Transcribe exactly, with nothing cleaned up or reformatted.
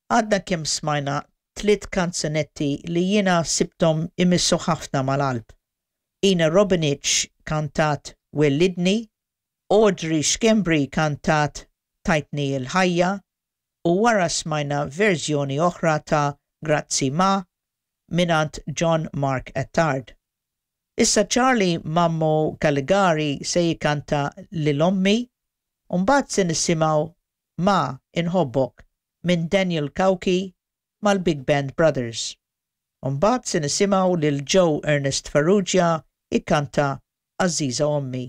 Għadna kemm smajna tliet kanzunetti li jiena sibthom imissu ħafna mal-qalb. Ina Robinich kantat Wellidni, Audrey Schembri kantat Tajtni il-ħajja u wara smajna verżjoni oħra ta' Grazzi Ma mingħand John Mark Attard. Issa Charlie Mammo Caligari se jikanta Lil Ommi u mbagħad se nisimgħu Ma Inħobbok minn Daniel Cauchi mal-Big Band Brothers. U mbagħad se nisimgħu lil Joe Ernest Farrugia ikkanta Għażiża Ommi.